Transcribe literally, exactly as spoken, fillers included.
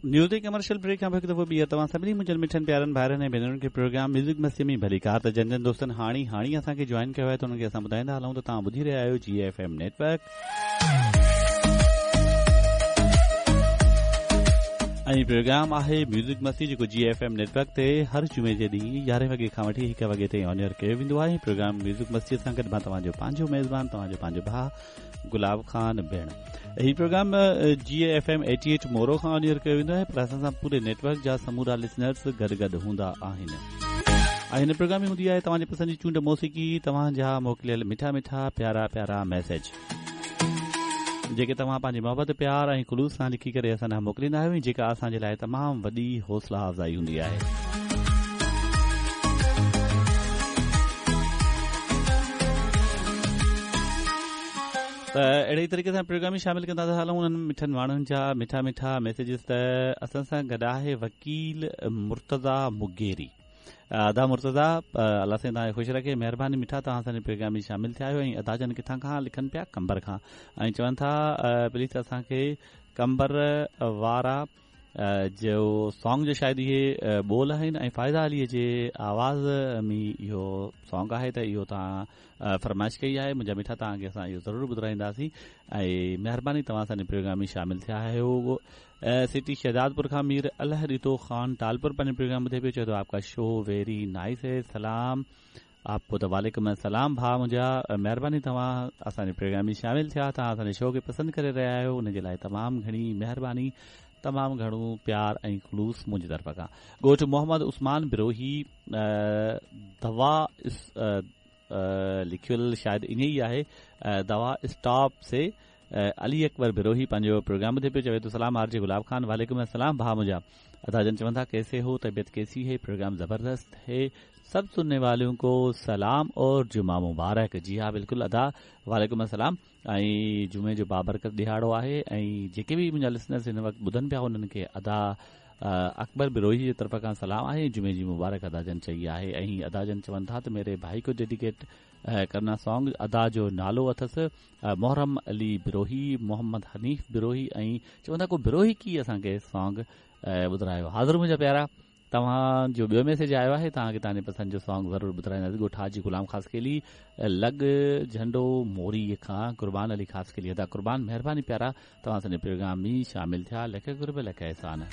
News commercial brake खां हिकु दफ़ो ॿीहर तव्हां सभिनी मुंहिंजनि मिठनि प्यारनि भाइरनि ऐं भेनरुनि खे प्रोग्राम म्यूज़िक मस्ती में भलीकार। त जन जन दोस्तनि हाणे हाणे असांखे जॉइन कयो आहे त उन्हनि खे असां ॿुधाईंदा हलूं त तव्हां ॿुधी रहिया आहियो जी एफ एम नेटवर्क ऐं प्रोग्राम आहे म्यूज़िक मस्ती जेको जी एफ एम नेटवर्क ते हर जुमे जे ॾींहुं यारहें वॻे खां वठी हिकु वॻे ताईं ऑन एयर कयो वेंदो आहे। प्रोग्राम म्यूज़िक मस्तीअ सां गॾु मां तव्हांजो पंहिंजो मेज़बान तव्हांजो पंहिंजो भाउ गुलाब ख़ान भेण। ही programme G F M eighty eight Moro खां ऑन एयर कयो वेंदो आहे, पर असां सां पूरे नेटवर्क जा समूरा लिसनर्स गॾु गॾु हूंदा आहिनि। ऐं हिन प्रोग्राम में हूंदी आहे तव्हांजी पसंदि जी चूंड मौसीक़ी, तव्हांजा मोकिलियल मिठा मिठा प्यारा प्यारा मैसेज जेके तव्हां पंहिंजी मोहबत प्यार ऐं ख़ुलूस सां लिखी करे असां ॾांहुं मोकिलींदा आहियो ऐं जेका असांजे लाइ तमामु वॾी हौसला अफ़ज़ाई हूंदी आहे। त अहिड़े ई तरीक़े सां प्रोग्राम शामिल कंदा था हलूं उन्हनि मिठनि माण्हुनि जा मिठा मिठा मैसेजिस। त असां सां गॾु आहे वकील मुर्तज़ा मुगेरी। अदा मुर्तज़ा, अलाह साईं तव्हांखे ख़ुशि रखे, महिरबानी मिठा तव्हां असांजे प्रोग्राम में शामिल थिया आहियो। ऐं अदा जन किथां खां लिखनि पिया, कंबर खां, ऐं चवनि था प्लीज़ असांखे कंबर वारा जो सॉन्ग जो शायदि इहे ॿोल आहिनि ऐं फ़ाइज़ा अलीअ जे आवाज़ में इहो सॉन्ग आहे, त इहो तव्हां फरमाइश कई आहे। मुंहिंजा मिठा तव्हांखे असां इहो ज़रूरु ॿुधाईंदासीं ऐं महिरबानी तव्हां असांजे प्रोग्राम में शामिल थिया आहियो। सिटी शहजादपुर खां मीर अल्लाह ॾितो ख़ान टालपुर पंहिंजो प्रोग्राम ॿुधे पियो, चए थो आपका शो वेरी नाइस है, सलाम आपको। त वालेकुम सलाम भाउ मुंहिंजा, महिरबानी तव्हां असांजे प्रोग्राम में शामिल थिया, तव्हां असांजे शो खे पसंदि करे रहिया आहियो, उनजे लाइ तमामु घणी महिरबानी, तमामु घणो प्यार ऐं ख़ुलूस मुंहिंजी तरफ़ खां। ॻोठ मोहम्मद उस्मान बिरोही दवा लिखियल शायदि ईअं ई आहे, दवा स्टॉप से अली अकबर बिरोही पंहिंजो प्रोग्राम ॿुधे पियो, चवे थो सलाम आर जे गुलाब खान, वालेकुम अस्सलाम भाउ मुंहिंजा। अदा जन चवनि था कैसे हो, तबीयत कैसी है, प्रोग्राम जबरदस्त है, सब सुनने वालों को सलाम और जुमा मुबारक। जी हाँ बिल्कुल अदा, वालेकुम अस्सलाम। ऐं जुमे जो बाबरकत ॾिहाड़ो आहे ऐं जेके बि मुंहिंजा लिसनर्स हिन वक़्तु ॿुधनि पिया उन्हनि खे अदा अकबर बिरोही जे तरफ़ खां सलाम आहे, जुमे जी मुबारक अदा जन चई आहे। ऐं अदा जन चवनि था त मेरे भाई को डेडिकेट करना सॉन्ग, अदा जो नालो अथसि मोहरम अली बिरोही, मोहम्मद हनीफ बिरोही, ऐं चवनि था को बिरोही की असांखे सॉन्ग ॿुधायो। हाज़िर मुंहिंजा प्यारा, तव्हांजो ॿियो मैसेज आयो आहे, तव्हांखे तव्हांजे पसंदि जो सॉन्ग ज़रूरु ॿुधाईंदासीं। ॻोठ हाजी ग़ुलाम ख़ासकेली लॻ झंडो मोरी खां कुर्बान अली ख़ासकेली। अदा कुर्बान, महिरबानी प्यारा, तव्हां असांजे प्रोग्राम में शामिल थिया, लख क़ुर्ब लख एहसान।